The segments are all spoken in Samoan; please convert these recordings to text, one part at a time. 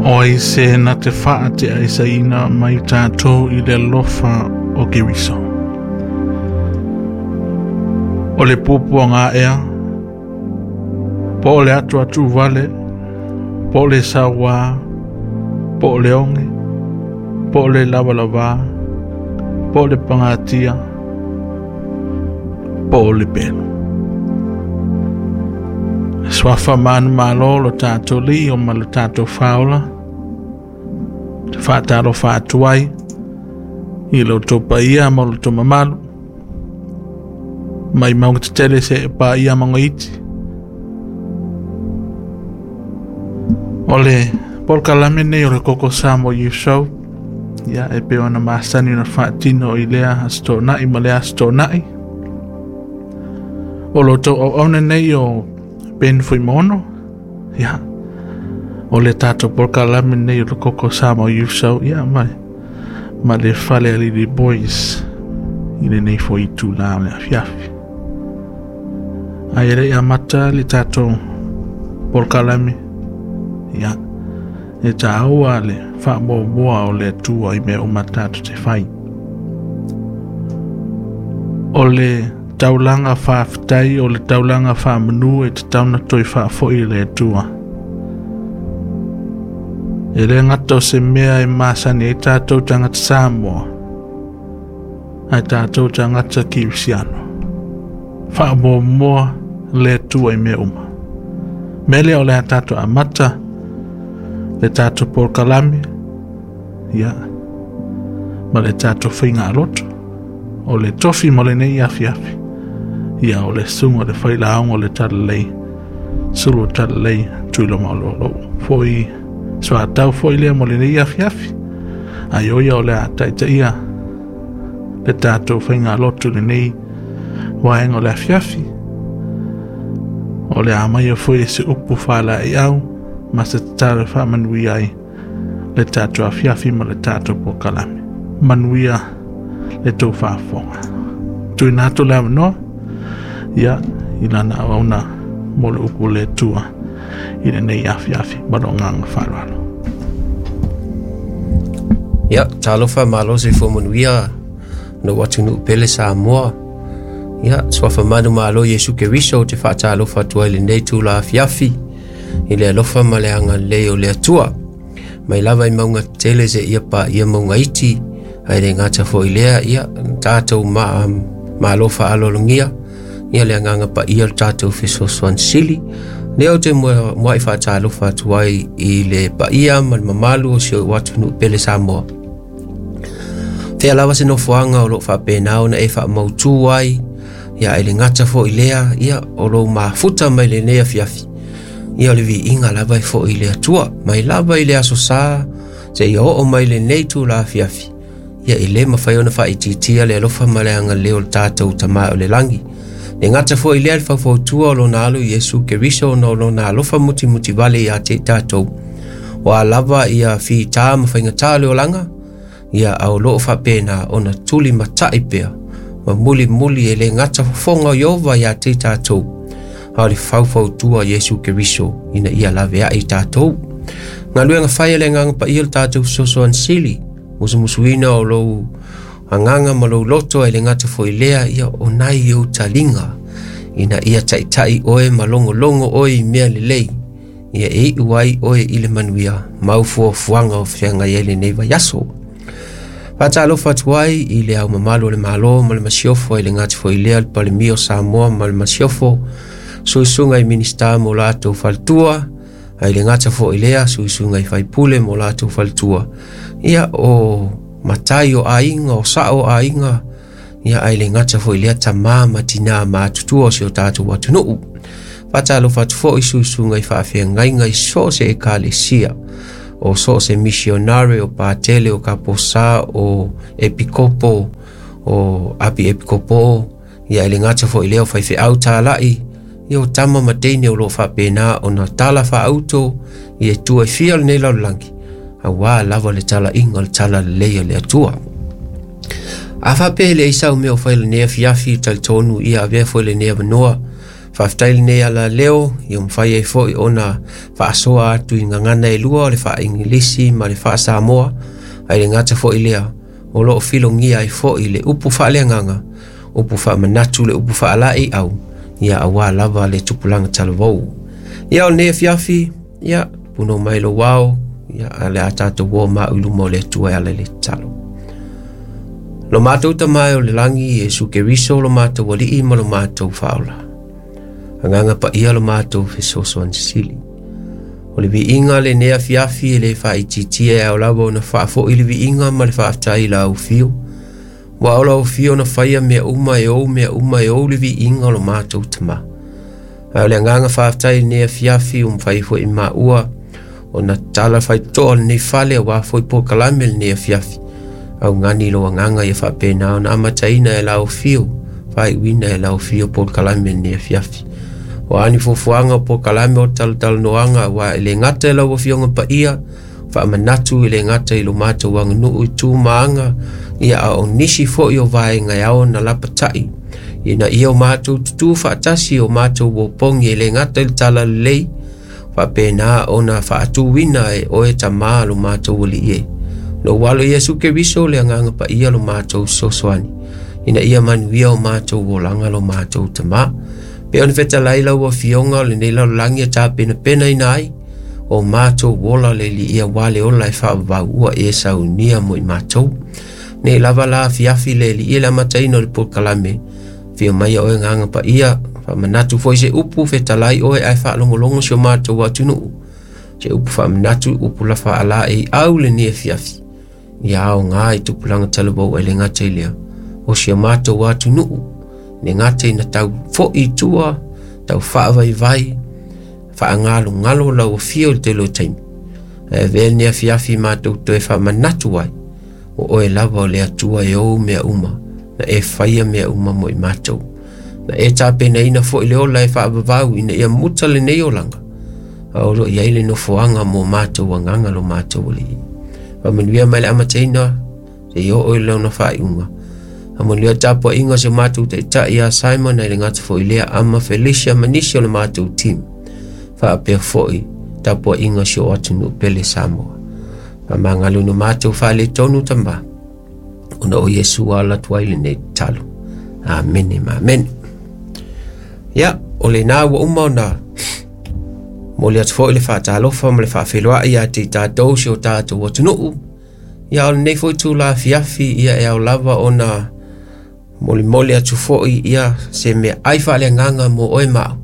O ai se na te faateaesaina mai tatou i le alofa o Keriso. O le puapuaga ea, po o le atuatu vale, po o le sauā, po o le oge, po o le lavalavā, po o le pagatia, po o le pelu. Suafa manumalo lo tatou lii o ma lo tatou faaola, te faatalofa atu ai i lo outou paia ma lo outou mamalu, mai mauga tetele seia paia mauga iti. O le polokalame nei o le Koko Samoa Youth Show, ia e pei ona masani ona faatino i lea Aso Toonai ma lea Aso Toonai. O lo outou auauna nei o Ben Fuimaono, ia, o le tatou polokalame nei o le Koko Samoa Youth Show, ia, ma, ma le Fale Alili Boys i lenei foi itulā o le afiafi. Ae le i amata le tatou polokalame, ia, e tāua le faamuamua o le Atua i mea uma tatou te fai. O le taulaga faafetai, o le taulaga faamanu e tatau ona toe faafoi i le Atua. E le gata o se mea e masani ai tatou tagata Samoa, ae tatou tagata Kerisiano. Faamuamua le Atua i mea uma. Mea lea o le a tatou amata le tatou polokalame, ia, ma le tatou faigalotu. O le tofi mo lenei afiafi, ia o le susuga o le failaoga o le Talalei, Sulu Talalei, Tuiloma o lo foi soatau foi lea mo lenei afiafi. Ai o ia o le a taitaia le tatou faigalotu lenei vaega o le afiafi. O le a maia foi se upu faalaeiau ma se tatalo e faamanuia ai le tatou afiafi ma le tatou polokalame. Manuia le tou faafofoga. Tuuina atu le avanoa, ia, i lana auauna mo le upu le Atua i lenei afiafi ma lou agaga faaaloalo. Ia, talofa malo soifua manuia lou atunuu pele Samoa. Ia, suafa manumalo Iesu Keriso te faatalofa atu ai lenei tula afiafi i le alofa ma le agalelei o le Atua. Mai lava i mauga tetele seia paia mauga iti, ae le gata foi lea, ia, tatou ma, malo faaaloalogia, ia le agaga paia o le tatou fesoasoani sili. Lea ou te muai faatalofa atu ai i le paia ma le mamalu o si ou atunuu pele Samoa. Fea lava se nofoaga o lo o faapena ona e faamautu ai, ia e le gata foi lea, ia o lou mafuta mai lenei afiafi. Ia o le viiga lava e foi i le Atua, mai lava i le aso sa, seia oo mai lenei itula afiafi. Ia e le mafai ona faaitiitia le alofa ma le agalelei o le tatou Tama o le lagi. Le gata foi lea le faufautua o lona alo Iesu Keriso ona o lona alofa mutimutivale ia te i tatou. Ua lava ia fita ma faigata o le olaga, ia a o loo faapena ona tuli matai pea ma mulimuli e le gata fofoga o Ieova ia te i tatou, a o le faufautua Iesu Keriso ina ia laveai i tatou. Galuega fai a le Agaga Paia le tatou fesoasoani sili, musumusuina o lou agaga ma lou loto e le gata foi lea, ia o nai ou taliga ina ia taitai oe ma logologo oe i mea lelei, ia e iu ai oe i le manuia mau fuafuaga o feagai ai lenei vaiaso. Faatalofa atu ai i le au mamalu o le Malo ma le Masiofo, i le gata foi lea le Palemia o Samoa ma le Masiofo, suisuga i Minista mo latou faletua, ai le gata foi lea suisuga i faipule mo latou faletua, ia o matai o aiga, o sao o aiga, ia ai le gata foi lea tamā ma tinā matutua o si o tatou atunuu. Faatalofa atu foi suisuga i faafeagaiga i so o se ekalesia, o so o se misionare, o patele, o kaposa, o epikopo, o api epikopo, ia e le gata foi lea o faifeau talai, ia o tama ma teine o loo faapena ona tala faauto i e tua e fia o lenei lalolagi, auā lava le talaiga o le talalelei a le Atua. A faapea e leai sau mea o fai lenei afiafi, talitonu ia avea foi lenei avanoa Faafetai lenei alaleo ia mafai ai foi ona faasoa atu i gagana e lua o le faa-Igilisi ma le faa-Samoa, ae le gata foi lea o loo filogia ai foi le upu faaleagaga, upu faamanatu, le upu faalaeiau, ia aua lava le tupulaga talavou. Ia o lenei afiafi, ia puno mai lou ao, ia a le a tatou o mau i luma o le Atua e ala i le tatalo. Lo matou Tama e o le lagi, Iesu Keriso lo matou Alii ma lo matou Faaola. Agaga Paia lo matou Fesoasoani Sili. O le viiga lenei afiafi e le faaitiitia e ao lava ona faafoi le viiga ma le faafetai i lau afio. Ua o lau afio na faia mea uma e ou mea uma e ou le viiga o lo matou Tama. Ae o le agaga faafetai i lenei afiafi ua mafai foi maua ona tala faitotoa lenei fale aua foi polokalame lenei afiafi. Augani lou agaga ia faapena ona amataina e lau afio, faaiuina e lau afio polokalame lenei afiafi. O a ni fuafuaga o polokalame o talatalanoaga aua e le gata i lau afioga paia, faamanatu e le gata i lo matou aganuu i tu ma aga, ia a o nisi foi o vaega e ao ona lapatai, ina ia o matou tutū faatasi o matou opogi e le gata i le talalelei, faapena ona faatuina e oe Tama lo matou Alii e. Lou alo Iesu Keriso le agaga paia lo matou fesoasoani, ina ia manuia o matou olaga lo matou Tama. Pe ona fetalai lau afioga o lenei lalolagi e tapenapenaina ai, o matou ola le Alii aua le ola e faavavau ua e saunia mo i matou. Nei lava la afiafi le Alii e le amataina o le polokalame, afio mai oe agaga paia, faamanatu foi se upu fetalai oe ae faalogologo si o matou atunuu, se upu faamanatu, upu la faalaeiau lenei afiafi, ia aoga i tupulaga talavou ai le gata i lea, o si o matou atunuu, le gata ina tau foi i tua, tau faavaivai, faagalogalo lau afio i le tele o taimi. Ae avea lenei afiafi matou toe faamanatu ai, o oe lava o le Atua e ou mea uma, na e faia mea uma mo i matou. Na e tapenaina foi le ola e faavavau ina ia muta lenei olaga, a o lo o i ai le nofoaga mo matou agaga lo matou Alii. Faamanuia mai le amataina, seia oo i lona faaiuga. Faamanuia le tapuaiga o si o matou taitai ia Simon ai le gata foi lea Ama Felicia ma nisi o le matou team. Faapea foi tapuaiga o si o atunuu pele Samoa. Faamagalo ina matou faaletonu Tama, ona o Iesu ala atu ai lenei tatalo. Amene ma amene. Ia, o lena ua uma ona momoli atu foi le faatalofa ma le faafeiloai ia te i tatou si o tatou atunuu. Ia, o lenei foi itula afiafi, ia e ao lava ona molimoli atu foi ia se meaai faaleagaga mo oe ma au,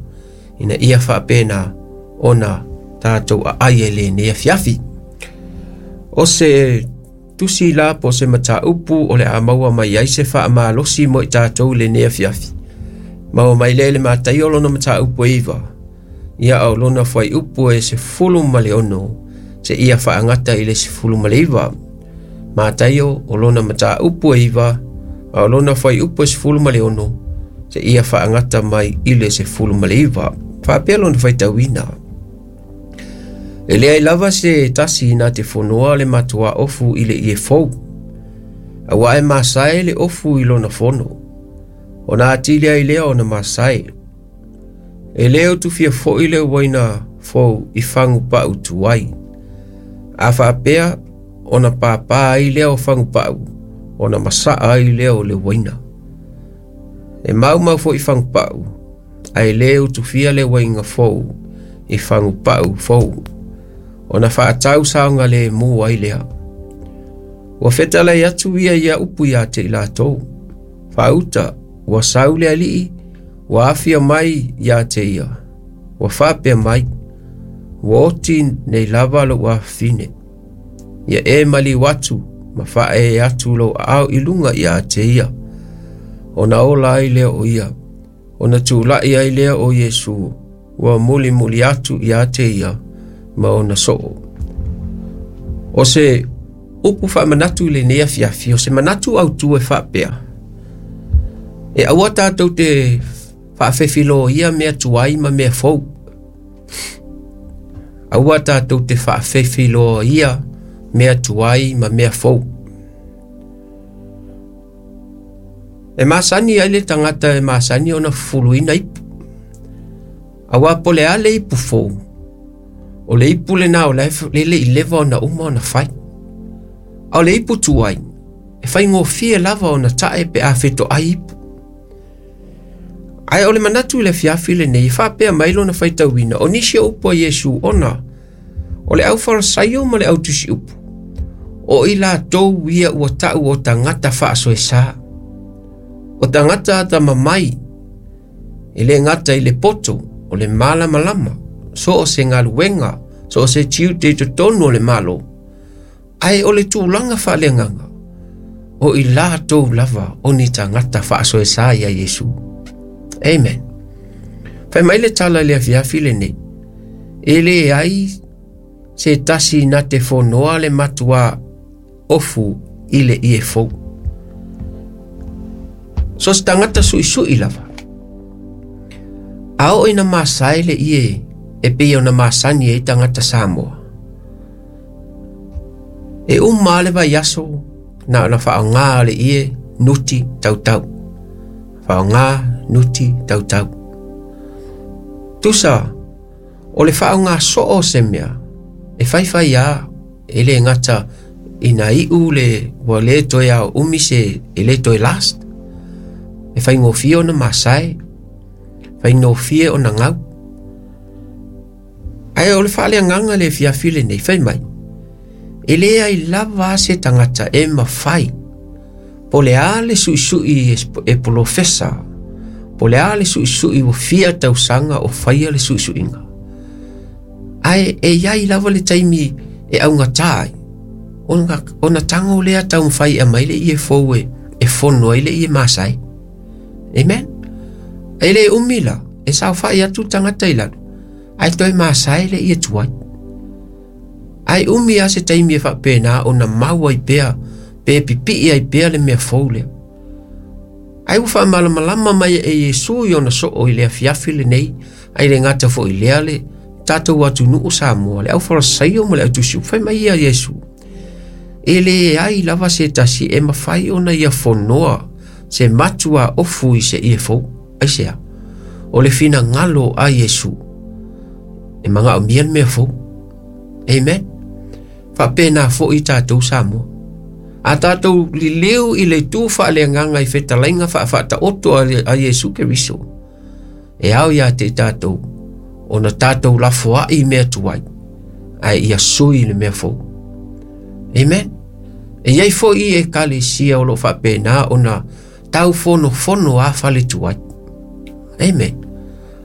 ina ia faapena ona tatou aai ai lenei afiafi. O se tusi la po o se mataupu o le a maua mai ai se faamalosi mo i tatou i lenei afiafi. Maua mai lea i le Mataio lona mataupu e 9, ia a o lona fuaiupu e 16, seia faagata i le 19. Mataio o lona mataupu e 9, a o lona fuaiupu e 16, seia faagata mai i le 19. Faapea lona faitauina. E leai lava se tasi na te fonoa le matuā ofu i le ie fou, aua e masae le ofu i lona fono, ona atili ai lea ona masae. E le utufia foi le uaina fou i fagu pau tuai. A faapea ona pāpā ai lea o fagu pau, ona masaa ai lea o le uaina. E maumau foi fagu pau, ae le utufia le uaina fou i fagu pau fou, ona faatau saogalemu ai lea. Ua fetalai atu ia ia upu ia te i latou. Faauta, ua sau le alii, ua afia mai ia te ia. Ua faapea mai, ua oti nei lava lou afafine. Ia e maliu atu ma faaee atu lou aao i luga ia te ia. Ona ola ai lea o ia, ona tulai ai lea o Iesu, ua mulimuli atu ia te ia ma ona soo. O se upu faamanatu i lenei afiafi, o se manatu autu e faapea, e aua tatou te faafefiloia mea tuai ma mea fou. Aua tatou te faafefiloia mea tuai ma mea fou. E masani ai le tagata e masani ona fufuluina ipu. Auā po o le a le ipu fou, o le ipu lena o la e le i leva ona uma ona fai. A o le ipu tuai, e faigofie lava ona tae pe a fetoai ipu. Ae o le manatu i le afiafi lenei, e faapea mai lona faitauina, o nisi o upu a Iesu ona o le aufarasaio ma le autusiupu, o i latou ia ua tau o tagata faasoesa, o tagata atamamai, e le gata i le poto, o le malamalama, so o se galuega, so o se tiute i totonu o le Malo, ae o le tulaga faaleagaga, o i latou lava o ni tagata faasoesa ia Iesu. Amen. Fai mai le tala i le afiafi lenei, e leai se tasi na te fonoa le matuā ofu i le ie fou. So se tagata suisui lava. A oo ina masae le ie e pei ona masani ai tagata Samoa. E uma lava le vaiaso na ona faaaoga le ie nuti tautau. Faaaoga nuti tautau. Tusa, o le faaaoga soo o se mea, e faifai lava, e le gata ina iu le ua le toe ao umi se e le toe last. E faigofie ona masae, faigofie ona gau. Ae o le faaleagaga le afiafi lenei, fai mai, e leai lava se tagata e mafai, po o le a le suisui e polofesa, po o le a le suisui ua fia tausaga o faia le suisuiga. Ae e i ai lava le taimi e augata ai, ona tago lea taumafai e aumai le ie fou e fono ai le ie masae. Amen. E le umi la, e saofai atu tagata i lalo, ae toe masae le ie tuai. Ae umi lava se taimi e faapena ona mau ai pea, pe pipii ai pea le mea fou lea. Ae ua faamalamalama mai e Iesu i ona soo i le afiafi lenei, ae le gata foi i lea le tatou atunuu Samoa, le aufarasaio ma le autusiupu. Fai mai ia Iesu, e leai lava se tasi e mafai ona ia fonoa se matua ofu i se ie fou. Aisea? O le finagalo a Iesu, e manaomia le mea fou. Amen. Faapena foi tatou Samoa. A tatou liliu i le itu faaleagaga i fetalaiga faafaataoto a Iesu Keriso, e ao ia te i tatou ona tatou lafoai i mea tuai, ae ia sui le mea fou. Amen. E i ai foi ekalesia o lo o faapena ona taufonofono a fale tuai. Amen.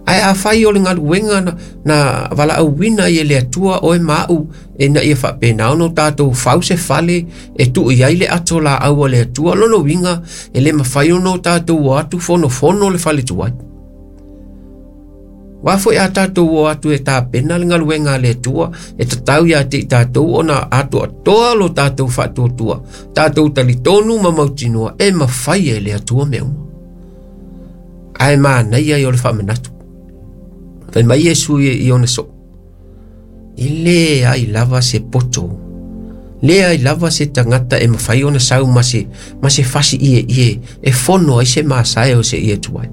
Ae afai o le galuega na valaauina ai e le Atua oe ma au ina ia faapena ona o tatou fau se fale e tuu i ai le ato laau a le Atua, lona uiga e le mafai ona o tatou o atu fonofono le fale tuai. Aua foi a tatou o atu e tapena le galuega a le Atua, e tatau ia te i tatou ona atoatoa lo tatou faatuatua, tatou talitonu ma mautinoa e mafai e le Atua mea uma. Ae manaia ia o le faamanatu. Fai mai Iesu i ona soo, e leai lava se poto, leai lava se tagata e mafai ona sau ma se fasi ieie e fono ai se masae o se ie tuai.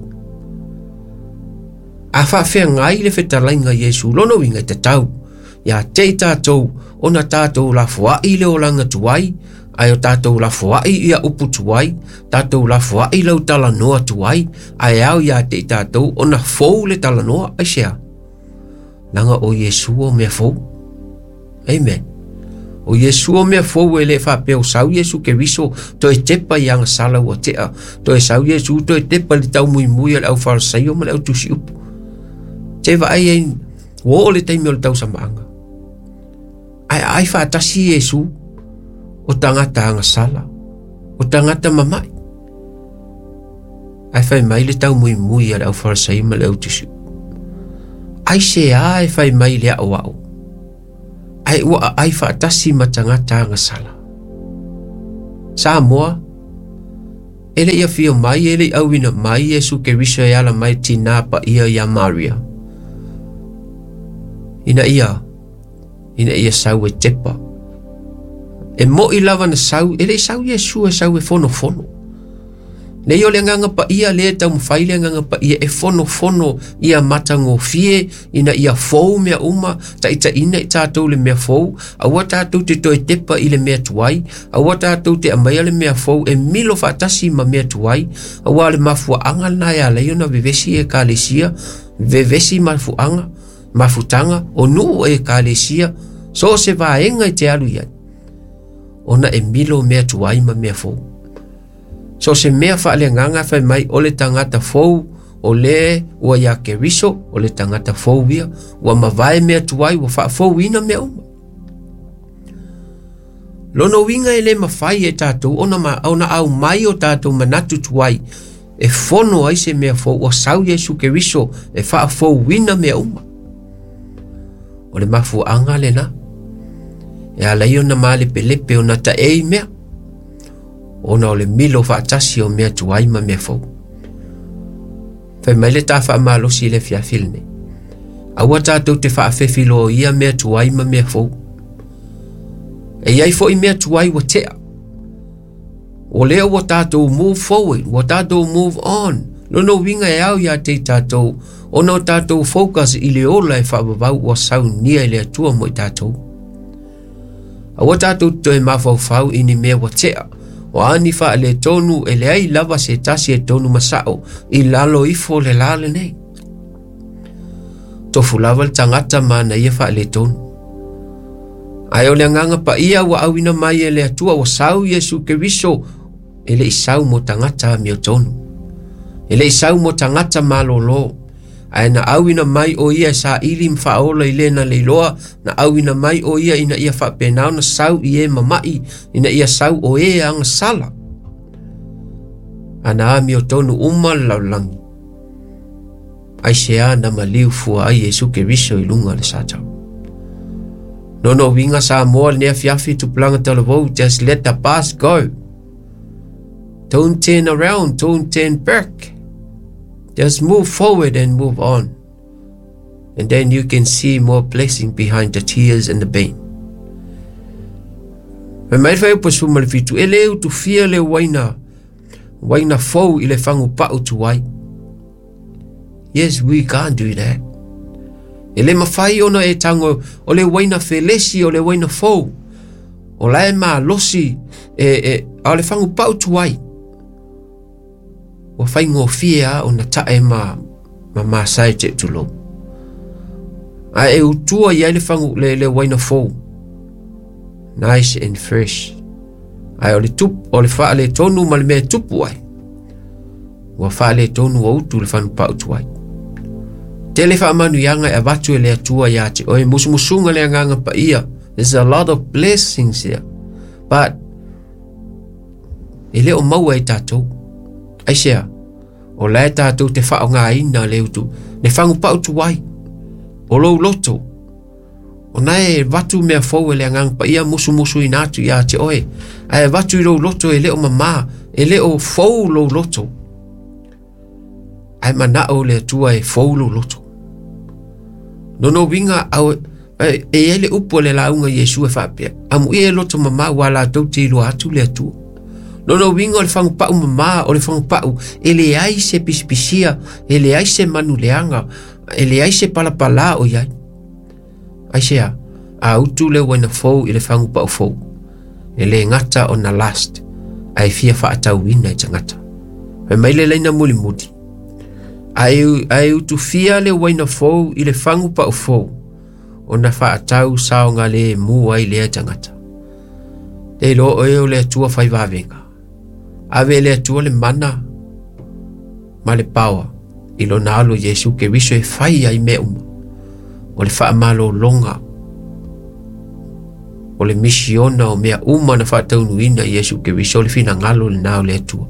A faafeagai le fetalaiga a Iesu, lona uiga e tatau ia te i tatou ona tatou lafoai le olaga tuai, ae o tatou lafoai ia upu tuai, tatou lafoai lau talanoa tuai, ae ao ia te i tatou ona fou le talanoa. Aisea? Leaga o Iesu o mea fou. Amen. O Iesu o mea fou e le faapea o sau Iesu Keriso toe tepa i agasala ua tea, toe sau Iesu toe tepa i le taumuimui a le aufarasaio ma le autusiupu. Te vaai ai, ua oo le taimi o le tausamaaga. Ae aai faatasi Iesu o tagata agasala, o tagata mamai. Ae fai mai le taumuimui a le aufarasaio ma le autusiupu. Aisea e fai mai le aoao, ae ua aai faatasi ma tagata agasala. Samoa, e le i afio mai, e le i auina mai Iesu Keriso e ala mai tinā paia ia Maria. Ina ia sau e tepa. E moi lava na sau, e le i sau Iesu e sau e fonofono. Nei o le agaga paia lea e taumafai le agaga paia e fonofono ia matagofie ina ia fou mea uma, taitaiina i tatou le mea fou, aua tatou te toe tepa i le mea tuai, aua tatou te aumaia le mea fou e milo faatasi ma mea tuai, aua o le mafuaaga lena e ala ai ona vevesi ekalesia, vevesi mafuaaga, mafutaga o nuu o ekalesia, so o se vaega e te alu i ai, ona e milo mea tuai ma mea fou. So se mea faaleagaga fai mai o le tagata fou o le ua ia Keriso, o le tagata fou ia, ua mavae mea tuai, ua faafouina mea uma. Lona uiga e le mafai e tatou ona, ona aumai o tatou manatu tuai e fono ai se mea fou ua sau Iesu Keriso e faafouina mea uma. O le mafuaaga lena e ala ai ona malepelepe ona taei mea ona o le milo faatasi o mea tuai ma mea fou. Fai mai le ta faamalosi i le afiafi lenei. Aua tatou te faafefiloia mea tuai ma mea fou. E i ai foi mea tuai ua tea. O lea ua tatou move forward, ua tatou move on. Lona uiga e ao ia te i tatou, ona o tatou focus i le ola e faavavau ua saunia e le Atua mo i tatou. Aua tatou te toe mafaufau i ni mea ua tea, o a ni faaletonu e leai lava se tasi e tonu ma sao i lalo ifo o le la lenei. Tofu lava le tagata ma ana ia faaletonu. Ae o le agaga paia ua auina mai e le Atua ua sau Iesu Keriso e le i sau mo tagata amiotonu. E le i sau mo tagata malōlō. Ae na auina mai o ia e saili ma faaola i le na leiloa, na auina mai o ia ina ia faapena ona sau i e mama'i, ina ia sau o e agasala. A na amiotonu uma le lalolagi. Aisea na maliu fua ai Iesu Keriso i luga o le satau. Lona uiga Samoa lenei afiafi tupulaga talavou, just let the past go. Don't turn around, don't turn back. Just move forward and move on. And then you can see more blessing behind the tears and the pain. Fai mai le fuaiupu 17, e le utufia le uaina, uaina fou i le fagupau tuai. Yes, we can't do that. E le mafai ona e tago o le uaina felesi o le uaina fou. O la e malosi e, e, a o le fagupau tuai. Ua faigofie lava ona tae ma, ma masae te tulou. Ae e utua i ai le, fagu, le, le uaina fou. Nice and fresh. Ae o le, tup, o le faaletonu ma le mea e tupu ai. Ua faaletonu ua utu le fanupau tuai. Tele faamanuiaga e avatu e le Atua ia te oe, musumusuga le agaga paia. There's a lot of blessings here. But e le o maua e tatou. Aisea, o la e tatou te faaaogaina le utu, le fagupau tuai, o lou loto, o na e avatu mea fou e le agaga paia musumusuina atu ia te oe, ae avatu i lou loto e le o mamā, e le o fou lou loto. Ae manao le Atua e fou lou loto. Lona uiga au, e, e i ai le upu a le lauga Iesu e faapea, amuia e loto mamā ua latou te iloa atu le Atua. Lona uiga o le fagupau mamā, o le fagupau e leai se pisipisia, e leai se manu leaga, e leai se palapalā o i ai. Aisea, a utu le uaina fou i le fagupau fou, e le gata ona last, ae fia faatauina e tagata. Fai mai le laina mulimuli, ae, ae utufia le uaina fou i le fagupau fou, ona faatau saogalemu ai lea tagata. Te iloa oe o le Atua fai vavega. Ave e le Atua le mana ma le power i lona alo Iesu Keriso e fai ai mea uma. O le faamalologa o le misiona o mea uma na faataunuina i Iesu Keriso o le finagalo lena o le Atua.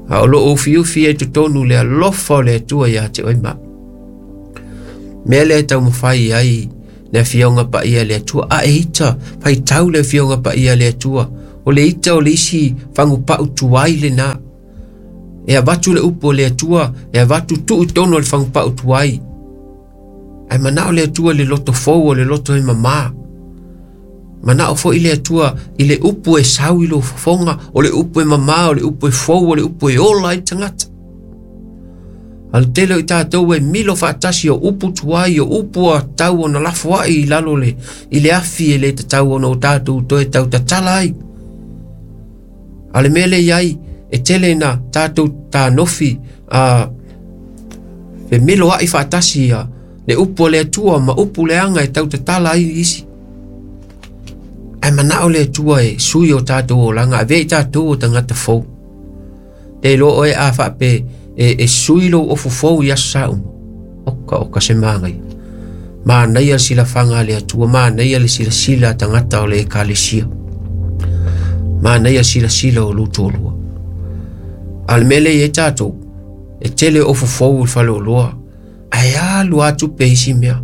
A o loo ufiufi ai totonu le alofa o le Atua ia te oe ma. Mea lea e taumafai ai le afioga paia a le Atua. A e ita, faitau le afioga paia a le Atua. O le ita o le isi fagupau tuai lena. E avatu le upu o le Atua, e avatu tuu i totonu o le fagupau tuai. Ae manao le Atua le loto fou o le loto e mamā. Manao foi le Atua i le upu e sau i lou fofoga, o le upu e mamā, o le upu e fou, o le upu e ola ai tagata. A le tele o i tatou e milo faatasi o upu tuai, o upu a tau ona lafoai i lalo le, i le afi e le tatau ona o tatou toe tau tatala ai. A le mea lea i ai, e tele ina tatou tanofi a femilo ai faatasi ia le upu a le Atua ma upu leaga e tau tatala ai isi. Ae manao le Atua e sui o tatou olaga, avea i tatou o tagata fou. Te iloa oe a faape e sui lou ofu fou i aso sa uma. Oka oka se manaia. Manaia le silafaga a le Atua, manaia le silasila a tagata o le ekalesia. Manaia le silasila o lou toalua. A o le mea lea i ai tatou, e tele ofu fou i le faleoloa, ae alu atu pe isi mea.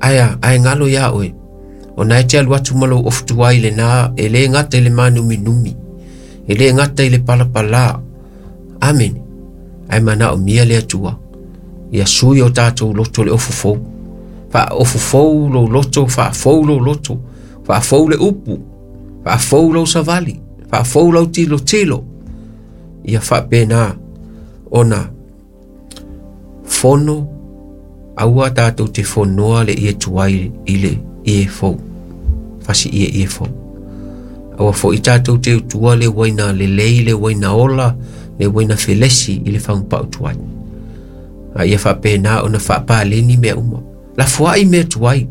Ae a, ae galo iā oe. Ona e te alu atu ma lou ofu tuai lena, e le gata i le mānuminumi, e le gata i le palapalā. Amene. Ae manaomia le Atua ia sui o tatou loto le ofu fou. Faaofu fou lou loto, faafou lou loto, faafou le upu, faafou lou savali, faafou lau tilotilo. Ia faapena ona fono aua tatou te fonoa le ie tuai i le ie fou, fasi ie ie fou. Aua foi tatou te utua le uaina lelei, le uaina ola, le uaina felesi i le fagupau tuai. A ia faapena ona faapaleni mea uma. Lafoai mea tuai,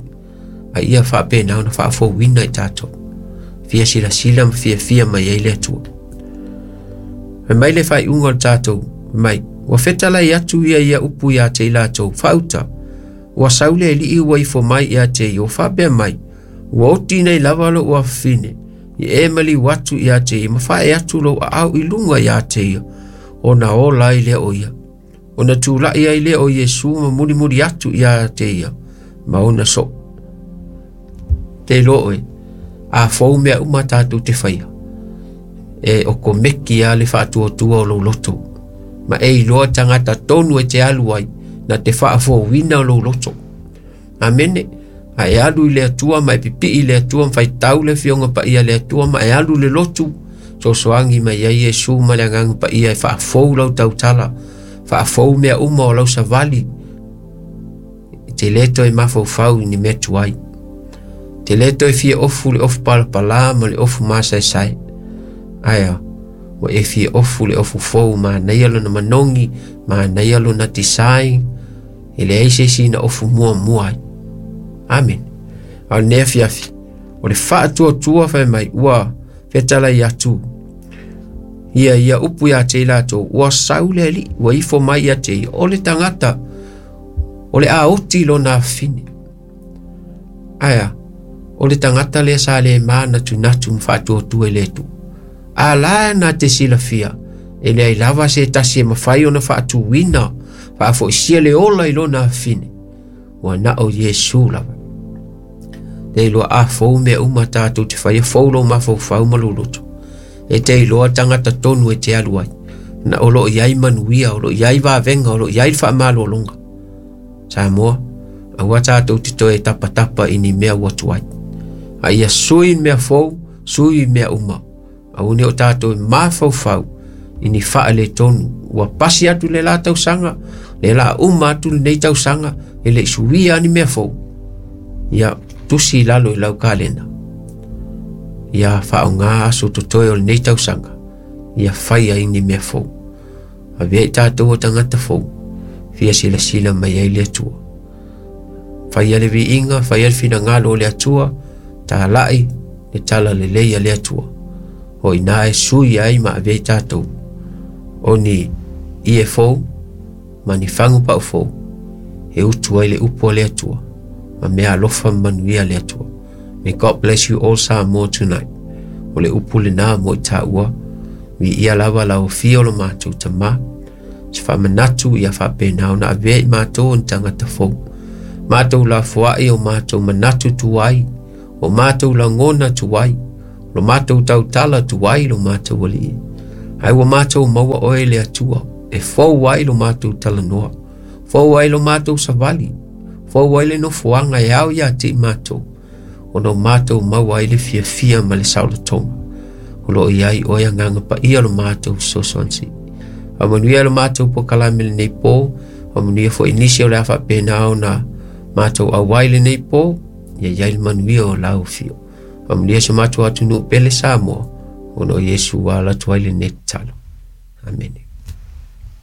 a ia faapena ona faafouina i tatou. Fia silasila ma fiafia mai ai le Atua. Fai mai le faaiuga o le tatou, fai mai, ua fetalai atu ia ia upu ia te i latou, faauta, ua sau le alii ua ifo mai ia te ia, ua faapea mai, ua oti nei lava lou afafine, ia e maliu atu ia te ia, ma fae atu lou aao i luga ia te ia, ona ola ai lea o ia. Ona tulai ai lea o Iesu ma mulimuli atu ia te ia, ma ona soo. Te iloa oe, a fou mea uma tatou te faia, e okomeki a le faatuatua o lou loto. Ma e iloa tagata tonu e te alu ai, na te faafouina o lou loto. Amene. A e alu i le Atua ma e pipii i le Atua ma faitau le Afioga Paia a le Atua ma e alu i le lotu, sosoagi mai ai Iesu ma le Agaga Paia e faafou lau tautala, faafou mea uma o lau savali. E te le toe mafaufau i ni mea tuai. Te le toe fia ofu le ofu palapala ma le ofu masaesae. Ae a, ua e fia ofu le ofu fou, manaia lona manogi, manaia lona design, e leai se isi na ofu muamua ai. Amen. A o lenei afiafi, o le faatuatua fai mai, ua fetalai atu ia ia upu ia te i latou, ua sau le alii, ua ifo mai ia te ia, o le tagata, o le a oti lona afafine. Ae a, o le tagata lea sa le manatunatu ma faatuatua i le Atua. A la na te silafia, e leai lava se tasi e mafai ona faatuina, faafoisia le ola i lona afafine. Ua na o Iesu lava. Te iloa a fou mea uma tatou te faia, fou lou mafaufau ma lou loto. E te iloa tagata tonu e te alu ai. Na o lo o i ai manuia, o lo o i ai vavega, o lo o i ai le faamalologa. Samoa, aua tatou te toe tapatapa i ni mea ua tuai. A ia sui mea fou, sui mea uma. Aua ne o tatou e mafaufau i ni faaletonu. Ua pasi atu le la tausaga, le la uma atu lenei tausaga, e le i suia ni mea fou. Ia tusi i lalo i lau kalena. Ia faaaoga aso totoe o lenei tausaga, ia fai ai ni mea fou. Avea i tatou o tagata fou, fia silasila mai ai le Atua. Faia le viiga, faia le finagalo o le Atua, talai le tala lelei a le Atua. O ina e sui ai ma avea i tatou o ni ie fou ma ni fagu pau fou e utu ai le upu a le Atua ma mea alofa ma manuia le Atua. May God bless you all Samoa tonight. O le upu lena mo i tāua. Viia lava lau afio o lo matou Tamā. Se faamanatu ia faapena ona avea i matou o ni tagata fou. Matou lafoai o matou manatu tuai, o matou lagona tuai, lo matou tautala tuai lo matou alii. Ae ua matou maua oe le Atua, e fou ai lo matou talanoa, fou ai lo matou savali, fou ai le nofoaga e ao ia te i matou. Ona o matou maua ai le fiafia ma le saolotoga. O lo o i ai oe Agaga Paia lo matou fesoasoani sili. Faamanuia lo matou polokalame lenei po, faamanuia foi nisi o le a faapena ona matou auai lenei po, ia i ai le manuia o lau afio. Faamanuia si o matou atunuu pele Samoa, ona o Iesu ua ala atu ai lenei tatalo. Amene.